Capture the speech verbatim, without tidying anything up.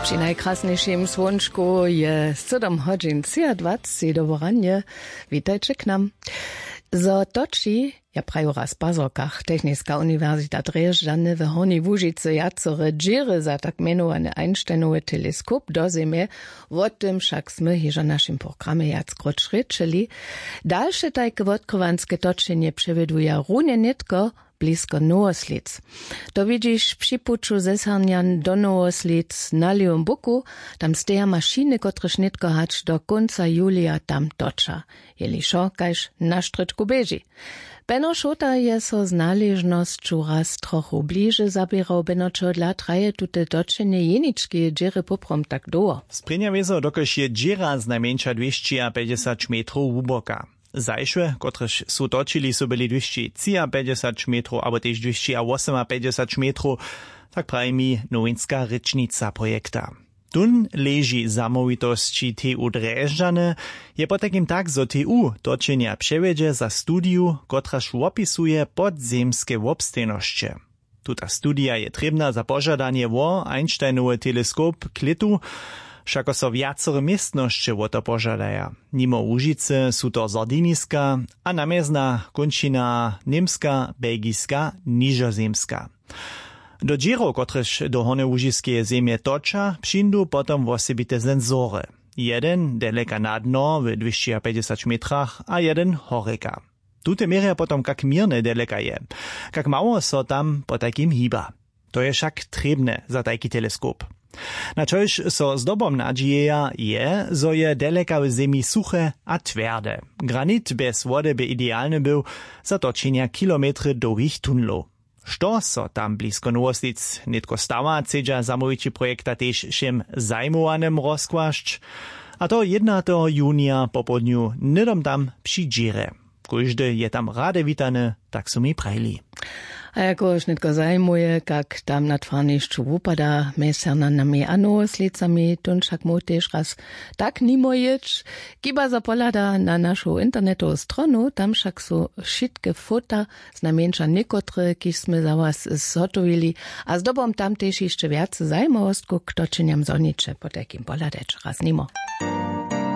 Při najkrasnjejšim słónčku je sydom hodźin třiadwaceći doboranje. Witajće k nam. Zo toči, ja praju raz w pazorkach, techniska uniwersita drježdźany w hornjej łužicy wjacore dźěry za tak mjenowane einsteinowy teleskop do zemje. Wo tym wšak smy hižo w našim programje wjackróć rěčeli. Dalše tajke wotkrywanske točenje přewjeduja runje nětko blisko nowoslic. To widźiš při puću zesarnjan do nowoslic na lěwym buku. Tam steja mašiny kotrež nětko hač do kónca julija tam toča, jeli wšo kaž na štrědku běži. Beno šołta je so z naležnosću raz trochu bliže zaběrał. Beno čehodla traje tute točenje jenički dźěry poprawom tak dołho? Sprěnja wězo dokelž je dźěra znajmjeńša dwěsći a pjećdźesać metrow hłuboka. Zašłe kotrež su točili su byli dwěsći třiapjećdźesać metrow abo tež dwěsći a wosomapjećdźesać metrow. Tak praji mi nowinska rěčnica projekta. Tón leži zamołwitosći t u drježdźany. Je potajkim tak zo t u točenja přewjedźe za studiju kotraž wopisuje podzemske wobstejnosće. Tuta studija je trěbna za požadanje wo einsteinowy teleskop klětu. Wšako so wjacore městnosće wo to požadaja. Nimo łužicy su to zordiniska a namjezna kónčina němska belgiska nižozemska. Do dźěrow kotrež do hornjołužiskeje zemje toča přińdu potom wosebite sensory. Jeden deleka na dno w dwěsći a pjećdźesać metrach a jeden horjeka. Tute měrja potom kak měrne deleka je, kak mało so tam potajkim hiba. To je wšak trěbne za tajki teleskop. Na čož so zdobom nadźijeja je zo je deleka w zemi suche a twjerde. Granit bjez wody by idealny był za točenja kilometry dołhich tunlow. Što so tam blisko nowoslic nětko stawa chcedźa zamołwići projekta tež wšěm zajmowanym rozkłasć. A to jědnateho junija popołdnju hnydom tam při dźěrje. Kóždy je tam rady witany, tak su mi prajili. A jakož nětko zajimuje kak tam na twarnišću wupada mjez sernanami a nowoslicami tón wšak móhł tež raz tak nimo jěć. Kiba zo pohlada na našu internetowu stronu, tam wšak su wšitke fota, znajmjeńša někotre kiž smy za was zhotowili. A zdobom tam tež hišće wjace zajimawostkow k točenjam zhoniće potajkim pohladać raz nimo.